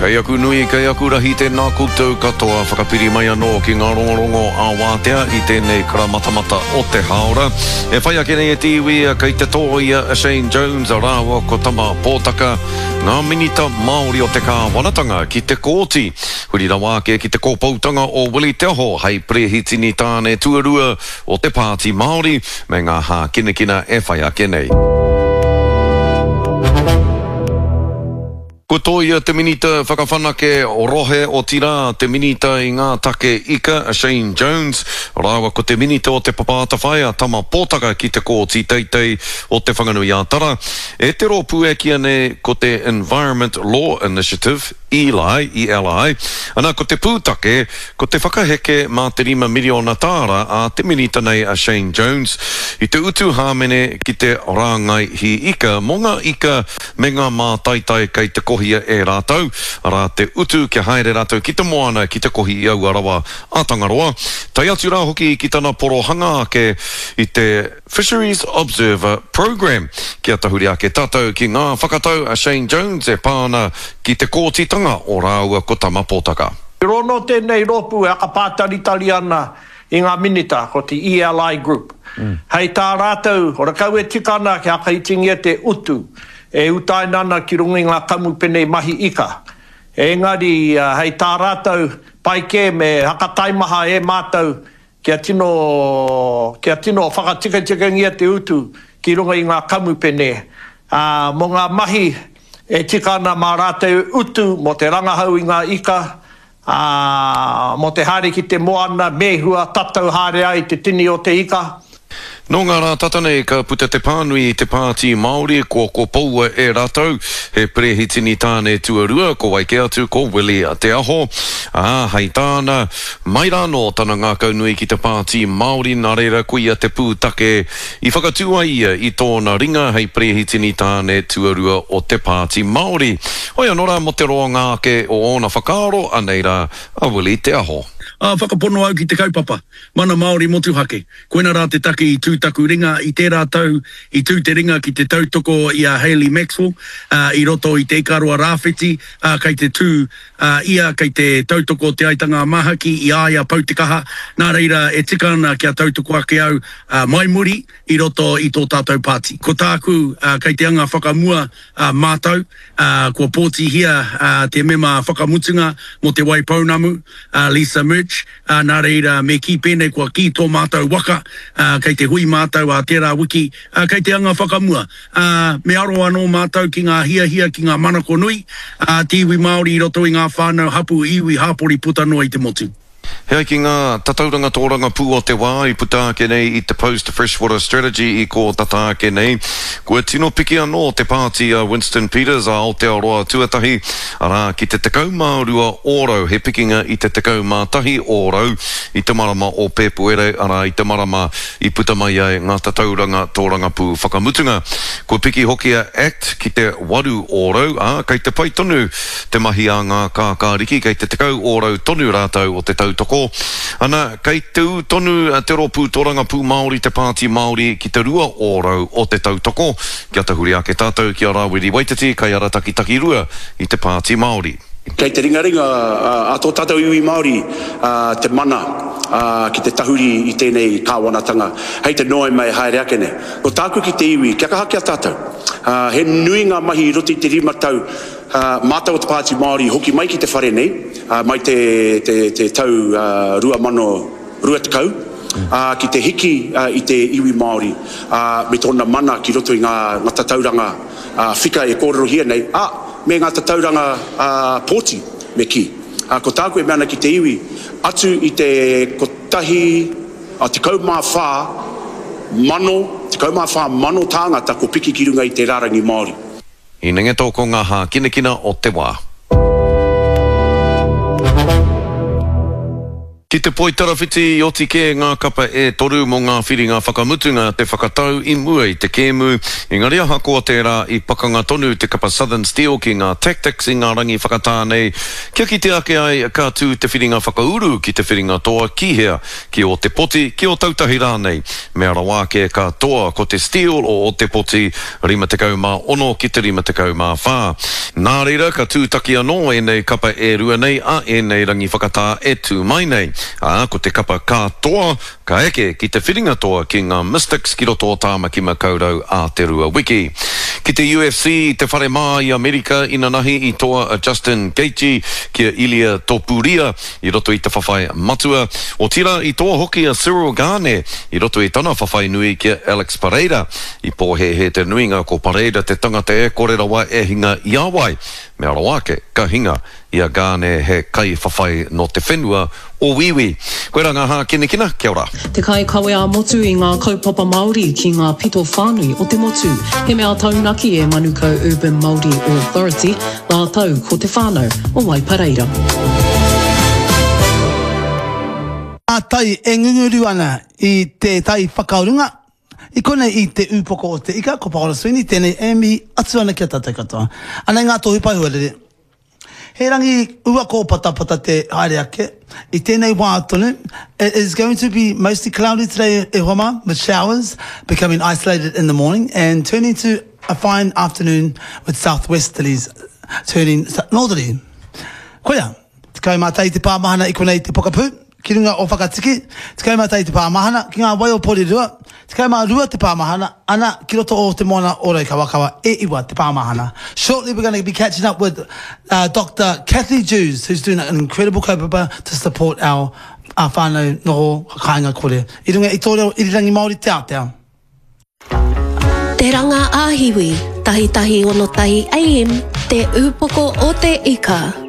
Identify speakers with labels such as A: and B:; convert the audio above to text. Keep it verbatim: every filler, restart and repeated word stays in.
A: Kei aku nui, kei aku rahi tēnā koutou katoa whakapiri mai anō ki ngā rongorongo ā-wātea i tēnei karamatamata o te hāora. E whai ake nei e te iwi, kei te tōia a Shane Jones rāua ko Tama Pōtaka, ngā minita Māori o te kāwanatanga ki te kōti. Huri rawa ake ki te kōpoutanga o Willie Te Aho hei perehitini tāne tuarua o te Pāti Māori me ngā hākinakina e whai ake nei. Kua tōia te minita whakawhanake rohe otirā te minita i ngā take ika a Shane Jones rāua ko te minita o Te Papa Atawhai a Tama Pōtaka ki te Kōti Teitei o Te Whanganui-a-Tara e te rōpū e kīia nei ko te Environment Law Initiative, E L I, E L I. Ana ko te pūtake, ko te whakaheke mā te rima miriona tāra a te minita nei a Shane Jones i te utu hāmene ki te rāngai hī ika mō ngā ika me ngā mātaitai kei te kohia e rātou, arā te utu kia haere rātou ki te moana ki te kohi i aua rawa a Tangaroa, tae atu rā hoki ki tana porohanga ake i te Fisheries Observer Programme. Kia tahuri ake tātou ki ngā whakatau a Shane Jones e pā ana ki te kōtitanga o rāua ko Tama Pōtaka.
B: I rono tēnei rōpū e akapātaritari ana i ngā minita, ko te E L I Group. Hei tā rātou, horekau e tika ana kia whakaitingia te utu e utaina ana ki runga i ngā kamupene mahi ika. Engari, hei tā rātou, pai kē me hakataimaha e mātou kia tino, kia tino whakatikatikangia te utu ki runga i ngā kamupene. Ā, mō ngā mahi e tika ana mā rātou utu mō te rangahau i ngā ika, ā, mō te haere ki te moana, mēhua, tatau haere ai te tini o te ika.
A: Nō ngā rā tata nei ka puta te pānui i te Pāti Māori kua kopoua e rātou he perehitini tāne tuarua ko wai kē atu ko Willie Te Aho. Ā, hei tāna, mai rānō tana ngākau nui ki te Pāti Māori nā reira koia te pūtake i whakatū ai ia i tōna ringa hei perehitini tāne tuarua o te Pāti Māori. Hoi anō rā mō te roanga ake o ōna whakaaro, anei rā a Willie Te Aho.
C: Ā, whakapono au ki te kaupapa, mana Māori motuhake. Koina rā te take i tū taku ringa i tērā tau, i tū te ringa ki te tautoko i a Hayley Maxwell, ā, i roto i Te Ikaroa Rāwhiti, ā, kei te tū, ā, ia kei te tautoko Te Aitanga a Māhaki i a ia pau te kaha, nā reira e tika ana kia tautoko ake au, ā, mai muri i roto i tō tātou pāti. Ko tāku, ā, kei te anga whakamua, ā, mātou, ā, kua pōtihia, ā, te mema whakamutunga mō Te Waipounamu, ā, Lisa Murch, ā, nā reira me kī pēnei kua kī tō mātou waka, ā, kei te hui mātou ā tērā wiki, ā, kei te anga whakamua. Ā, me aro anō mātou ki ngā hiahia, ki ngā manako nui, ā, te iwi Māori i roto i ngā whānau, hapū, iwi, hāpori puta noa i te motu.
A: He ai ki ngā tatauranga tōrangapū o te wā i puta ake nei i te Post Freshwater Strategy i kō tata ake nei, kua tino piki anō te pāti a Winston Peters a Aotearoa Tuatahi, arā ki te tekau mā rua ōrau, he pikinga i te tekau mā tahi ōrau i te marama o Pēpuere, arā i te marama i puta mai ai ngā tatauranga tōrangapū whakamutunga. Kua piki hoki a act ki te waru ōrau, ā, kei te pai tonu te mahi a ngā kākāriki, kei te tekau ōrau tonu rātou o te tautoko. Ana, kei te ū tonu te rōpū tōrangapū Māori, te Pāti Māori, ki te rua ōrau o te tautoko. Kia tahuri ake tātou ki a Rāwiri Waititi, kaiarataki takirua i te Pāti Māori.
D: Kei te ringaringa a tō tātou iwi Māori te mana ki te tahuri i tēnei kāwanatanga hei te Noema e haere ake nei. Ko tāku ki te iwi, kia kaha ki a tātou. He nui ngā mahi i roto i te rima tau, mātou o te Pāti Māori i hoki mai ki te whare nei, mai te te tau rua mano rua tekau, ki te hiki i te iwi Māori me tōna mana ki roto i ngā tatauranga whika e kōrerohia nei, ā, me ngā tatauranga pōti, me kī. Ko tāku e mea ana ki te iwi, atu i te kotahi, tekau mā whā mano, tekau mā whā mano tāngata kua piki ki runga i te rārangi Māori.
A: Hinengeto ko ngā hākinakina o te wā. Ki te poitarawhiti i oti kē ngā kapa e toru mō ngā whiringa whakamutunga te whakatau i mua i te kēmu, engari ahakoa tērā i pakanga tonu te kapa Southern Steel ki ngā Tactix i ngā rangi whakatā nei kia kite ake ai ka tū te whiringa whakauru ki te whiringa toa ki hea, ki Ōtepoti, ki Ōtautahi rānei. Mea rawa ake ka toa ko te Steel o Ōtepoti rima tekau mā ono ki te rima tekau mā whā. Nā reira ka tūtaki anō ēnei kapa e rua nei a ēnei rangi whakatā e tū mai nei. Ā, ko te kapa ka toa, ka eke ki te whiringa toa ki ngā Mystics ki roto o Tāmaki Makaurau ā te rua wiki. Ki te U F C i te whare mā i Amerika inanahi i toa a Justin Gaethje ki a Ilia Topuria i roto i te whawhai matua. Otirā i toa hoki a Ciryl Gane i roto i tana whawhai nui ki a Alex Pereira. I pōhēhē te nuinga ko Pereira te tangata e kore rawa e hinga i a wai. Mea rawa ake, ka hinga i a Gane he kaiwhawhai nō te whenua o Wīwī. Koirā ngā hākinakina, kia ora.
E: Te kaikawe ā-motu i ngā kaupapa Māori ki ngā pito whānui o te motu. He mea taunaki e Manukau Urban Māori Authority, rātou ko te whānau o Waipareira.
F: Ngā tai e ngunguru ana i te tai whakarunga, i konei i te Ūpoko o te Ika, ko Paora Sweeney tēnei e mihi atu ana ki a tātou katoa. Anei ngā tohu pae huarere. He rangi ua kōpatapata te haere ake, i tēnei wā tonu, it is going to be mostly cloudy today e hoa mā, with showers becoming isolated in the morning and turning to a fine afternoon with southwesterlies turning northerly. Koia, tekau mā tahi te pāmahana i konei te pokapū, ki runga o Whakatiki, tekau mā tahi te pāmahana, ki ngā wai o Porirua, tekau mā rua te pāmahana, ana ki roto o te moana o Raukawakawa, e iwa te pāmahana. Shortly we're going to be catching up with uh, Doctor Kathy Jews, who's doing an incredible kaupapa to support our, our whānau noho kāinga kore. I runga i tō reo irirangi Māori te ātea.
G: Te Ranga ā-Hiwi, tahi tahi ono tahi A M, Te Ūpoko o te Ika.